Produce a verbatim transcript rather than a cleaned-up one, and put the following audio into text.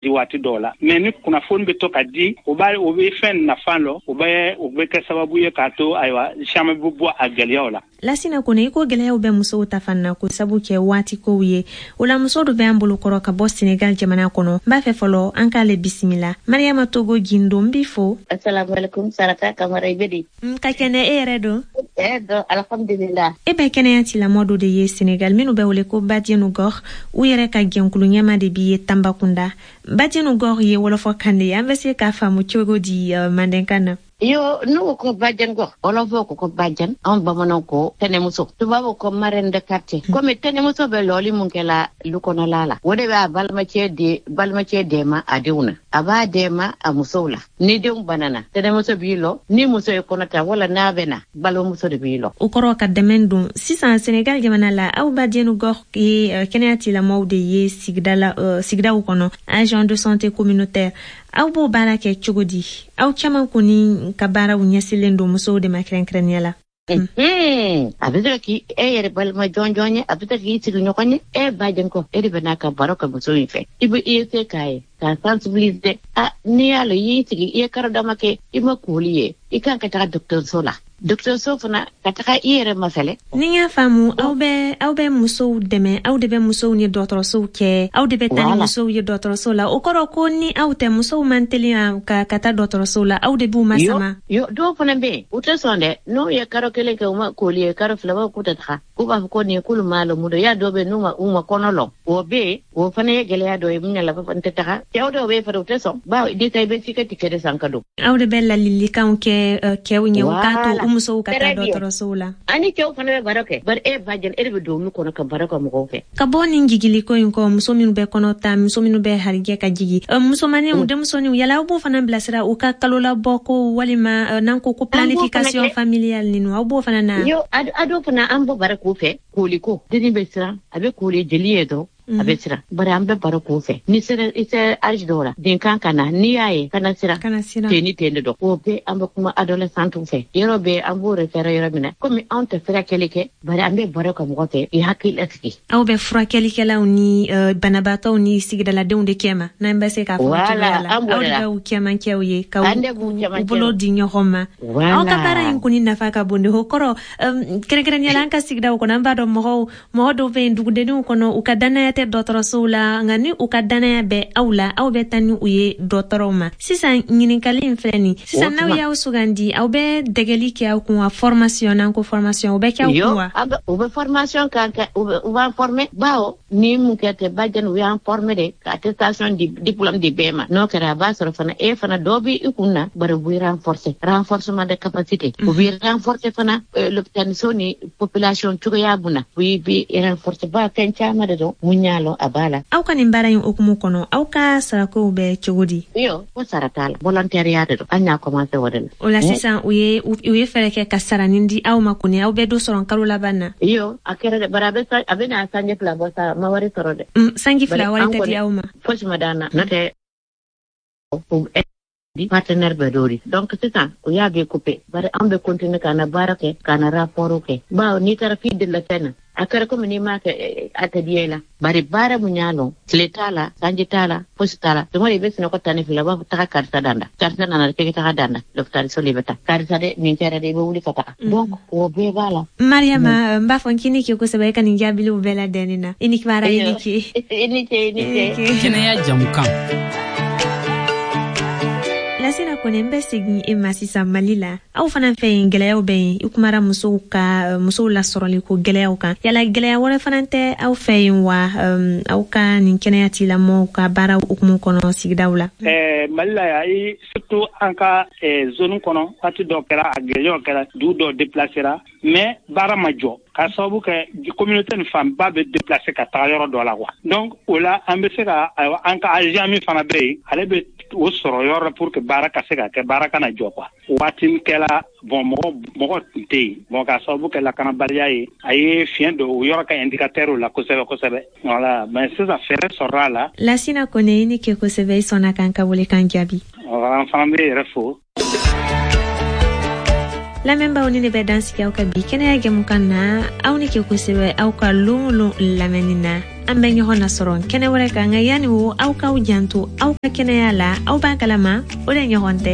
Di waati dɔw la, mais ni kunnafoni bɛ to ka di, o b'a o bɛ fɛn nafa lɔ, o bɛ o bɛ kɛ sababu ye k'a to, ayiwa, caman bɛ bɔ a gɛlɛyaw la. Lasina Kone, i ko gɛlɛyaw bɛ musow ta fan na ko sabu kɛ waati kow ye. O la, muso dɔ bɛ an bolo kɔrɔ ka bɔ Senegal jamana kɔnɔ. N b'a fɛ fɔlɔ an k'ale bisimila. Mariama Togo Gindo, n b'i fo. Assalamualaikum, Sarata Kamara, i bɛ di? Ka kɛnɛ, e yɛrɛ don? Eh dɔn, alhamdulillah. E bɛ kɛnɛya tigilamɔgɔ dɔ de ye Senegal minnu bɛ wele ko Bajenu Gox. U yɛrɛ ka jɛnkulu ɲɛma de b'i ye Tambakunda. Bajenu Gox ye wɔlɔfɔ kan de ye, an bɛ se k'a faamu cogo di uh, mandenkan na? Yo, n'u ko bajan gox, wɔlɔfɔ ko ko bajan, anw bamananw ko tɛnɛmuso, tubabu ko marraine de quartier. Komi tɛnɛmuso bɛ lɔli mun kɛla lu kɔnɔla la, o de b'a balimacɛ de balimacɛ dɛmɛ a denw na, a b'a dɛmɛ a musow la. Ni denw banana, tɛnɛmuso b'i lɔ. Ni muso ye kɔnɔ ta wala n'a bɛ na, balimamuso de b'i lɔ. O kɔrɔ ka dɛmɛ don. Sisan, Senegal jamana la, aw Bajenu Gox ye uh, kɛnɛya tigilamɔgɔw de ye sigida la, uh, sigidaw kɔnɔ, agent de santé communautaire. Aw b'o baara kɛ cogo di? Aw caman kɔni ka baaraw ɲɛsilen don musow de ma kɛrɛnkɛrɛnnenya la. A bɛ se ka k'i e yɛrɛ balima jɔn jɔn ye, a bɛ se k'i sigiɲɔgɔn ye. E bajen kɔ, e de bɛ n'a ka baro kɛ muso in fɛ. I bɛ i ye se k'a ye k'a sensibiliser. A n'i y'a lɔn, i y'i sigi, i ye karo dama kɛ, i ma koli ye, i kan ka taga dɔgɔtɔrɔso la, dɔgɔtɔrɔso fana ka taga i yɛrɛ mafɛlɛ. Ni n y'a faamu, aw bɛ aw bɛ musow dɛmɛ, aw de bɛ musow ni dɔgɔtɔrɔsow kɛ, aw de bɛ taa ni musow ye dɔgɔtɔrɔso la. O kɔrɔ ko ni aw tɛ, musow man teli ka ka taa dɔgɔtɔrɔso la, aw de b'u masama? Yo, dɔw fana bɛ yen, u tɛ sɔn dɛ. N'u ye karo kelen kɛ, u ma koli ye, karo fila, b'a k'u tɛ taga. K'u b'a fɔ ko nin k'olu m'a lɔ mun don ya. Dɔw bɛ yen, n'u ma u ma kɔnɔ lɔ, o bɛ yen, o fana ye gɛlɛya dɔ ye. Mun na n tɛ taga? Cɛw dɔw bɛ yen fana, u tɛ sɔn, bawo n'i taa, i bɛ t'i ka ticket de san ka don. Aw de bɛ lalilikanw kɛ kɛw ɲɛ, u k'a to u musow ka taa dɔgɔtɔrɔsow la. Ani cɛw fana bɛ baro kɛ, bari e ba jɛn, e de bɛ don olu kɔnɔ ka baro kɛ mɔgɔw fɛ. Ka bɔ nin jigiliko in kɔ, muso minnu bɛ kɔnɔ ta, muso minnu bɛ harijɛ ka jigi, musomaninw, denmusoninw, yala aw b'o fana bilasira u ka kalolabɔ ko walima n'an ko ko planification familiale ninu, aw b'o fana na? Yo, a dɔw fana, an b'o baro k'u fɛ. Kooli ko denni bɛ siran, a bɛ kooli jeli ye dɔrɔn, a bɛ siran, bari an bɛ baro k'o fɛ. Ni sera, i sera âge dɔw la, den kan ka na, n'i y'a ye, kana siran. Kana siran. Ten ni ten de dɔn, o bɛɛ an bɛ kuma adolescente fɛ. Yɔrɔ bɛɛ an b'o référé yɔrɔ min na, komi anw tɛ furakɛli kɛ, bari an bɛ baro kɛ mɔgɔ fɛ, i hakili lasigi. Aw bɛ furakɛlikɛlaw ni uh, banabaatɔw ni sigidaladenw de kɛma, n'an bɛ se k'a fɔ cogoya la. Aw de b'u cɛmancɛw ye ka u bolo di ɲɔgɔn ma. Aw ka baara in kɔni nafa ka bon de. O kɔrɔ, kɛrɛnkɛrɛnnenya la, an ka sigidaw kɔnɔ, an b'a dɔn mɔgɔw mɔgɔ dɔw bɛ yen dugudenninw kɔnɔ, u ka danaya tɛ dɔgɔtɔrɔsow la, nka ni u ka danaya bɛ aw la, aw bɛ taa ni u ye dɔgɔtɔrɔw ma. Sisan, ɲininkali in filɛ nin sisan, n'aw y'aw sugandi, aw bɛ dɛgɛli kɛ aw kun wa? Formation, n'an ko formation, o bɛ kɛ aw kun wa? U bɛ formation kan kɛ, u b'an former, bawo ni mun kɛ tɛ bajan, u y'an former de ka attestation di, diplôme di bɛɛ ma. N'o kɛra, a b'a sɔrɔ fana e fana dɔ bɛ i kun na, bari u b'i renforcer, renforcement de capacité, u b'i renforcer fana l'hôpital so ni population cogoya mun na, u b'i renforcer ba fɛn caman de dɔn mun y'a lɔn a b'a la. Aw ka nin baara in hukumu kɔnɔ, aw ka sarakow bɛ cogo di? Iyo, ko sara t'a la, volontariat de don, an y'a commencé o de la. O la sisan, u ye u ye fɛɛrɛ kɛ ka saranin di aw ma kɔni, aw bɛ dɔ sɔrɔ kalo laban na? Iyo, a kɛra dɛ, bari a bɛ a bɛ na sanji fila bɔ sa, ma wari sɔrɔ dɛ. Sanji fila, wari tɛ di aw ma? Fosi ma d'an na, n'o tɛ di partenaire bɛ dɔ di. Donc sisan u y'a bɛɛ coupé, bari an bɛ continuer ka na baara kɛ, ka na rapport kɛ, bawo n'i taara f'i delila fɛn na, a kɛra komi n'i m'a kɛ, a tɛ diya i la. Bari baara mun y'a lɔn, tile t'a la, sanji t'a la, fosi t'a la. Tuma i bɛ sunɔgɔ tan ni fila, b'a fɔ taga karisa danda, karisa nana k'e taga danda, l'hôpital so, i bɛ taa karisa dɛ, nin kɛra dɛ, i bɛ wuli ka taga. Donc o bɛɛ b'a la. Mariama, n b'a fɔ k'i ni ce kosɛbɛ, i ka nin jaabiliw bɛɛ ladɛnni na. I ni baara, i ni ce. I ni ce, i ni ce. Kɛnɛya jamukan. Lasina Kɔnɛ, n bɛ segin e ma sisan Mali la. Aw fana fɛ yen, gɛlɛyaw bɛ yen. I kumara musow ka musow lasɔrɔli ko gɛlɛyaw kan. Yala gɛlɛya wɛrɛ fana tɛ aw fɛ yen wa, aw ka nin kɛnɛya tigilamɔgɔw ka baara hukumu kɔnɔ sigidaw la? Mali la yan, surtout an ka zone kɔnɔ, waati dɔ kɛra, a gɛlɛyaw kɛra, dugu dɔw déplacera, mais baara ma jɔ, k'a sababu kɛ communauté nin fanba bɛ déplacer ka taga yɔrɔ dɔ la quoi. Donc o la, an bɛ se ka, ayiwa, an ka agent min fana bɛ yen, ale bɛ o sɔrɔ yɔrɔ la pour que baara ka se ka kɛ, baara kana jɔ quoi. Waati min kɛla, bon, mɔgɔ mɔgɔ tun tɛ yen, bon, k'a sababu kɛ lakanabaliya ye, a ye fiɲɛ don o yɔrɔ ka indicateur la kosɛbɛ kosɛbɛ, voilà. Mais sisan, fɛɛrɛ sɔrɔla a la. Lasina Kone, i ni ke kosɛbɛ, i sɔnna k'an ka welekan jaabi. An fana bɛ yɛrɛ fo. Lamɛnbaaw, ni ne bɛ dan sigi aw ka bi kɛnɛya jɛmukan na. Aw ni ke kosɛbɛ aw ka lon o lon lamɛnni na. An bɛ ɲɔgɔn nasɔrɔ kɛnɛ wɛrɛ kan, nka yanni o, aw k'aw janto aw ka kɛnɛya la. Aw b'a kalama, o de ɲɔgɔn tɛ.